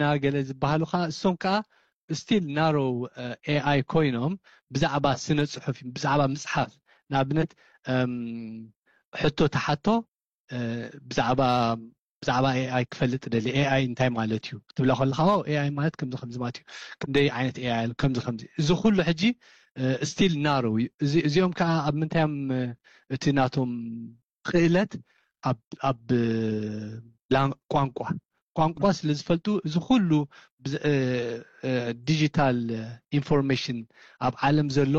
ና ገለ ዝበሃሉ ከዓ እሶም ከዓ still narrow ኤኣይ ኮይኖም ብዛዕባ ስነ ፅሑፍ ብዛዕባ ምፅሓፍ ንኣብነት ሕቶ ተሓቶ ብዛዕባ ብዛዕባ ኤኣይ ክፈልጥ ደሊ ኤኣይ እንታይ ማለት እዩ ክትብላ ከለካ ኤኣይ ማለት ከምዚ ከምዚ ማለት እዩ ክንደይ ዓይነት ኤኣይ ኣሎ ከምዚ ከምዚ እዚ ኩሉ ሕጂ still narrow እዩ እዚኦም ከዓ ኣብ ምንታዮም እቲ ናቶም ክእለት ኣብ ቋንቋ ቋንቋ ስለ ዝፈልጡ እዚ ኩሉ digital information ኣብ ዓለም ዘሎ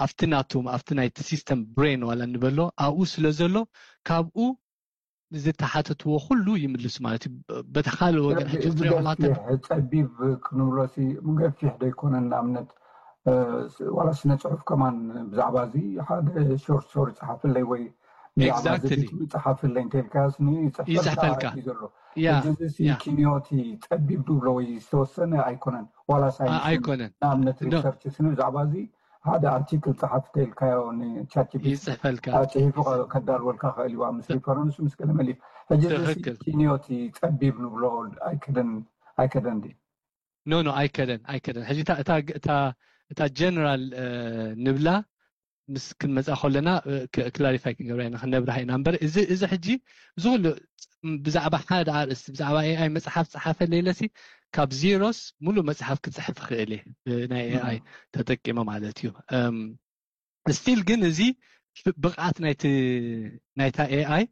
ኣብቲ ናቶም ኣብቲ ናይቲ system brain ዋላ እንበሎ ኣብኡ ስለ ዘሎ ካብኡ ዝተሓተትዎ ኩሉ ይምልሱ ማለት እዩ በቲ ካልእ ወገን ሕጂ ክትሪኦ ከለካ ጸቢብ ክንብሎ ገፊሕ ዶ ይኮነን ንኣብነት ዋላ ስነ ፅሑፍ ከማን ብዛዕባ እዚ ሓደ short story ፀሓፍለይ ወይ Exactly. ፀሓፍለይ እንተልካስ ይፅሕፈልካ። ዘሎ ኪንዮቲ ፀቢብ ዝብሎ ወይ ዝተወሰነ ኣይኮነን ዋላ ሳይንስ ኣይኮነን ንኣብነት research ስኒ ብዛዕባ እዚ ሓደ article ፀሓፍ ተልካዮ ንቻት ይፅሕፈልካ ፅሒፉ ከዳልወልካ ክእል እዩ ምስ reference ምስ ገለ መሊፍ ሕጂ ትኽክል። ኪንዮቲ ፀቢብ ንብሎ ኣይከደን ኣይከደን ድዩ no no ኣይከደን ኣይከደን ሕጂ እታ- እታ- እታ- እታ general ንብላ ምስ ክንመፃ ከለና clarify ክንገብራ ኢና ክነብርሃ ኢና እምበር እዚ እዚ ሕጂ እዚ ኩሉ ብዛዕባ ሓደ ኣርእስቲ ብዛዕባ ኤኣይ መፅሓፍ ፀሓፈለይ ኢለሲ ካብ ዜሮስ ሙሉእ መፅሓፍ ክፅሕፍ ይኽእል እየ ናይ ኤኣይ ተጠቂመ ማለት እዩ still ግን እዚ ብቕዓት ናይታ ኤኣይ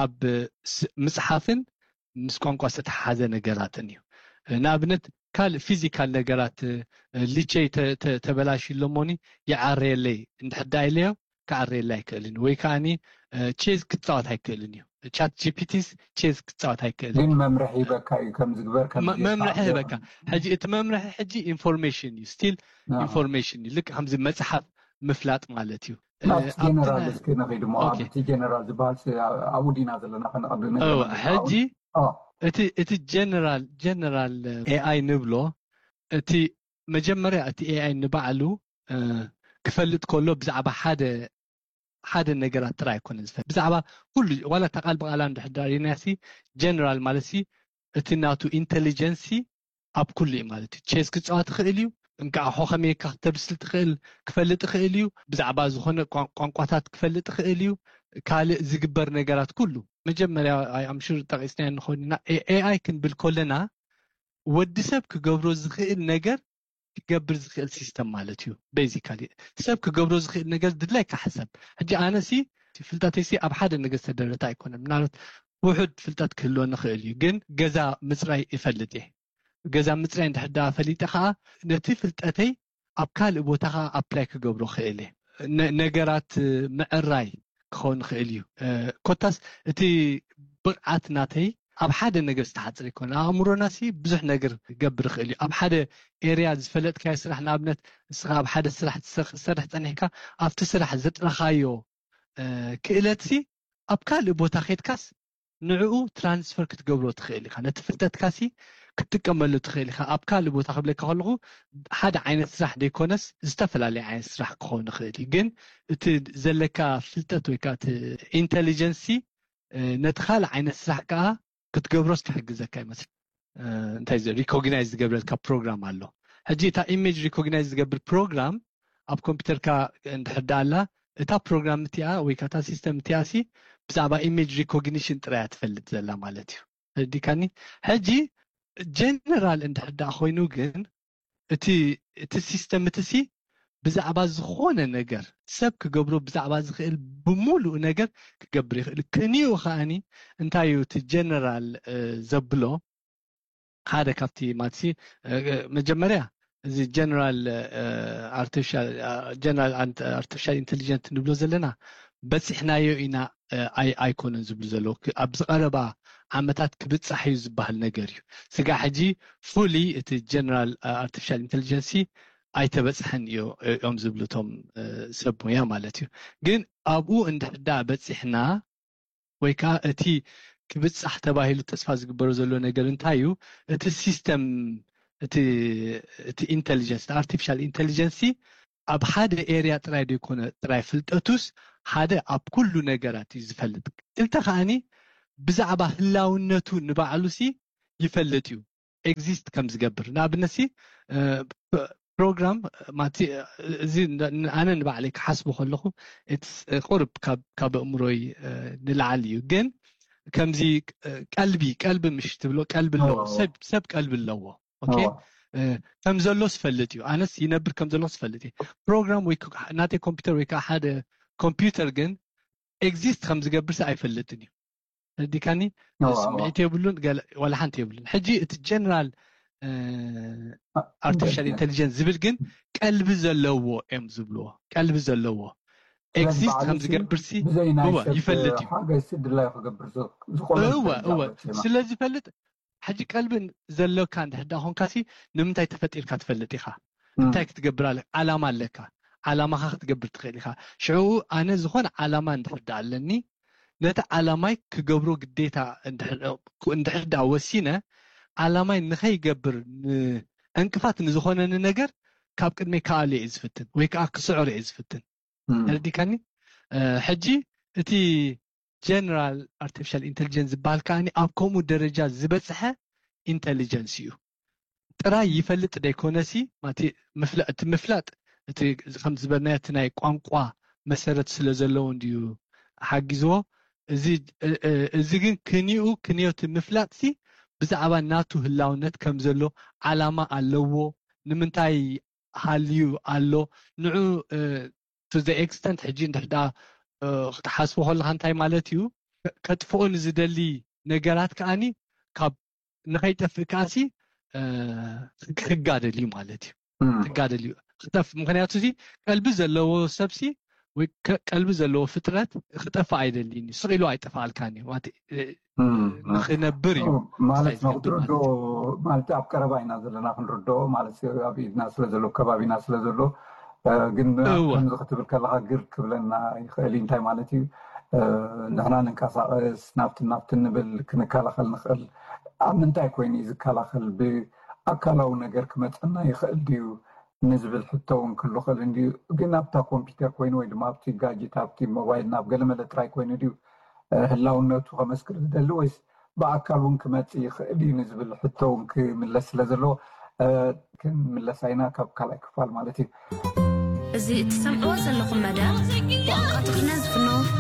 ኣብ ምፅሓፍን ምስ ቋንቋ ዝተተሓሓዘ ነገራትን እዩ ንኣብነት ካልእ physical ነገራት ሊቸይ ተበላሽ ኢሎሞኒ ይዓረየለይ እንድሕር ዳ ኢለዮ ክዓረየለይ ኣይክእልን ወይ ከዓ chess ክፃወት ኣይክእልን እዩ chat gptስ chess ክፃወት ኣይክእልን ግን መምርሒ ይበካ እዩ ከምዝግበር መምርሒ ይበካ ሕጂ እቲ መምርሒ ሕጂ information እዩ still information እዩ ልክ ከምዚ መፅሓፍ ምፍላጥ ማለት እዩ ናብቲ ጀነራል እስኪ ንኺድ ሞ ኣብቲ ጀነራል ዝበሃል ኣብኡ ዲና ዘለና ከነቐብል ሕጂ እቲ general general ኤኣይ ንብሎ እቲ መጀመርያ እቲ ኤኣይ ንባዕሉ ክፈልጥ ከሎ ብዛዕባ ሓደ ሓደ ነገራት ጥራይ ኣይኮነ ዝፈልጥ ብዛዕባ ኩሉ ዋላ እታ ቃል ብቃላ እንድሕዳር ኢናሲ general ማለት እቲ ናቱ intelligence ኣብ ኩሉ እዩ ማለት እዩ chess ክፃወት ይኽእል እዩ እንቃዕሖ ከመይካ ክተብስል ትኽእል ክፈልጥ ይኽእል እዩ ብዛዕባ ዝኾነ ቋንቋታት ክፈልጥ ይኽእል እዩ ካልእ ዝግበር ነገራት ኩሉ መጀመርያ ኣምሹር ጠቂስና ንኾንና ኤኣይ ክንብል ከለና ወዲ ሰብ ክገብሮ ዝኽእል ነገር ክገብር ዝኽእል system ማለት እዩ basically ሰብ ክገብሮ ዝኽእል ነገር ድላይካ ሕሰብ ሕጂ ኣነሲ ፍልጠተይሲ ኣብ ሓደ ነገር ዝተደረተ ኣይኮነን ምናልባት ውሑድ ፍልጠት ክህልወኒ ይኽእል እዩ ግን ገዛ ምፅራይ ይፈልጥ እየ ገዛ ምፅራይ እንድሕር ዳ ፈሊጠ ከዓ ነቲ ፍልጠተይ ኣብ ካልእ ቦታ ከዓ apply ክገብሮ ክእል እየ ነገራት ምዕራይ ክኸውን ይኽእል እዩ ኮታስ እቲ ብቕዓት ናተይ ኣብ ሓደ ነገር ዝተሓፅር ይኮነ ኣእምሮና ሲ ብዙሕ ነገር ክገብር ይኽእል እዩ ኣብ ሓደ area ዝፈለጥካዮ ስራሕ ንኣብነት ንስኻ ኣብ ሓደ ስራሕ ትሰርሕ ፀኒሕካ ኣብቲ ስራሕ ዘጥረኻዮ ክእለት ሲ ኣብ ካልእ ቦታ ከድካስ ንዕኡ transfer ክትገብሮ ትኽእል ኢኻ ነቲ ፍልጠትካ ሲ ክትጥቀመሉ ትኽእል ኢኻ ኣብ ካልእ ቦታ ክብለካ ከለኹ ሓደ ዓይነት ስራሕ ዘይኮነስ ዝተፈላለየ ዓይነት ስራሕ ክኸውን ይኽእል እዩ ግን እቲ ዘለካ ፍልጠት ወይ ከዓ intelligence ነቲ ካልእ ዓይነት ስራሕ ከዓ ክትገብሮስ ክሕግዘካ ይመስል እንታይ recognize ዝገብረልካ ፕሮግራም ኣሎ ሕጂ እታ image recognize ዝገብር ፕሮግራም ኣብ ኮምፒውተርካ እንድሕር ኣላ እታ ፕሮግራም እቲኣ ወይ ከዓ system እቲኣ ሲ ብዛዕባ image recognition ጥራያ ትፈልጥ ዘላ ማለት እዩ ተረዲካኒ ሕጂ general እንድሕር ኮይኑ ግን እቲ እቲ system እቲ ሲ ብዛዕባ ዝኾነ ነገር ሰብ ክገብሮ ብዛዕባ ዝኽእል ብምሉእ ነገር ክገብር ይኽእል ክንዩ ከዓኒ እንታይ እዩ እቲ general ዘብሎ ሓደ ካብቲ ማትሲ መጀመርያ እዚ general artificial general artificial intelligence ንብሎ ዘለና በፂሕናዮ ኢና ኣይኮነን ዝብሉ ዘለዉ ኣብዚ ቀረባ ዓመታት ክብፃሕ እዩ ዝበሃል ነገር እዩ ስጋ ሕጂ fully እቲ general artificial intelligence ኣይተበፅሐን እዩ እዮም ዝብሉ እቶም ሰብ ሙያ ማለት እዩ ግን ኣብኡ እንድሕዳ በፂሕና ወይ ከዓ እቲ ክብፃሕ ተባሂሉ ተስፋ ዝግበሩ ዘሎ ነገር እንታይ እዩ እቲ system እቲ intelligence artificial intelligence ኣብ ሓደ area ጥራይ ዘይኮነ ጥራይ ፍልጠቱስ ሓደ ኣብ ኩሉ ነገራት እዩ ዝፈልጥ ክልተ ከዓኒ ብዛዕባ ህላውነቱ ንባዕሉ ሲ ይፈልጥ እዩ ኤግዚስት ከም ዝገብር። ንኣብነት ሲ ፕሮግራም ማቲ እዚ ኣነ ንባዕለይ ክሓስቦ ከለኹ ቁርብ ካብ ኣእምሮይ ንላዓል እዩ። ግን ከምዚ ቀልቢ ቀልቢ ምሽ ትብሎ ቀልቢ ኣለዎ። ሰብ ቀልቢ ኣለዎ። ከም ዘሎ ዝፈልጥ እዩ። ኣነስ ይነብር ከም ዘሎ ዝፈልጥ እዩ። ፕሮግራም ወይ ናተይ ኮምፒውተር ወይ ከዓ ሓደ ኮምፒውተር ግን ኤግዚስት ከም ዝገብርሲ ኣይፈልጥን እዩ። ተረዲካኒ? ስምዒት የብሉን፣ ዋላ ሓንቲ የብሉን። ሕጂ እቲ ጀነራል ኣርቲፊሻል ኢንቴሊጀንስ ዝብል ግን ቀልቢ ዘለዎ እዮም ዝብልዎ። ቀልቢ ዘለዎ ኤግዚስት ከም ዝገብርሲ ይፈልጥ እዩ። እወ እወ ስለ ዝፈልጥ ሕጂ ቀልቢ ዘለካ እንድሕዳ ኮንካሲ ንምንታይ ተፈጢርካ ትፈልጥ ኢኻ? እንታይ ክትገብር ኣለካ? ዓላማ ኣለካ። ዓላማኻ ክትገብር ትኽእል ኢኻ። ሽዑ ኣነ ዝኾነ ዓላማ እንድሕዳ ኣለኒ ነቲ ዓላማይ ክገብሮ ግዴታ እንድሕዳ ወሲነ ዓላማይ ንኸይገብር ዕንቅፋት ንዝኾነኒ ነገር ካብ ቅድመይ ክኣሉ እየ ዝፍትን ወይ ከዓ ክስዕሮ እየ ዝፍትን። ተረዲካኒ? ሕጂ እቲ ጀነራል ኣርቲፊሻል ኢንቴሊጀንስ ዝበሃል ከዓኒ ኣብ ከምኡ ደረጃ ዝበፅሐ ኢንቴሊጀንስ እዩ። ጥራይ ይፈልጥ ደይኮነሲ እቲ ምፍላጥ እቲ ከም ዝበልናዮ እቲ ናይ ቋንቋ መሰረት ስለ ዘለዎ እንድዩ ሓጊዝዎ። እዚ ግን ክንኡ ክንዮቲ ምፍላጥሲ ብዛዕባ ናቱ ህላውነት ከም ዘሎ ዓላማ ኣለዎ፣ ንምንታይ ሃልዩ ኣሎ፣ ንዑ to the extent ሕጂ እንድሕዳ ክትሓስቦ ከለካ እንታይ ማለት እዩ? ከጥፍኦ ንዝደሊ ነገራት ከዓኒ ካብ ንኸይጠፍእ ከዓሲ ክጋደል እዩ ማለት እዩ። ክጋደል እዩ ክጠፍ ምክንያቱ ሲ ቀልቢ ዘለዎ ሰብሲ ወይ ቀልቢ ዘለዎ ፍጥረት ክጠፍእ ኣይደልን እዩ። ስቕ ኢሉ ኣይጠፍኣልካን እዩ። ንክነብር እዩ ማለት ነው። ክትርድኦ ማለት ኣብ ቀረባ ኢና ዘለና ክንርድኦ ማለት ኣብ ኢድና ስለ ዘሎ ከባቢና ስለ ዘሎ ግን ከምዚ ክትብል ከለካ ግር ክብለና ይኽእል እዩ። እንታይ ማለት እዩ? ንሕና ንንቀሳቐስ ናብቲ ናብቲ ንብል ክንከላኸል ንኽእል። ኣብ ምንታይ ኮይኑ እዩ ዝከላኸል? ብኣካላዊ ነገር ክመፀና ይኽእል ድዩ ንዝብል ሕቶ እውን ክሉ ክእል እንድዩ። ግን ኣብታ ኮምፒውተር ኮይኑ ወይ ድማ ኣብቲ ጋጅት ኣብቲ ሞባይል ናብ ገለመለ ጥራይ ኮይኑ ድዩ ህላውነቱ ከመስክር ዝደሊ ወይስ ብኣካል እውን ክመፅእ ይኽእል እዩ ንዝብል ሕቶ እውን ክምለስ ስለ ዘለዎ ክንምለሳ ኢና ካብ ካልኣይ ክፋል ማለት እዩ። እዚ እትሰምዕዎ ዘለኹም መደብ ብቋንቋ ትግርኛ ዝፍኖ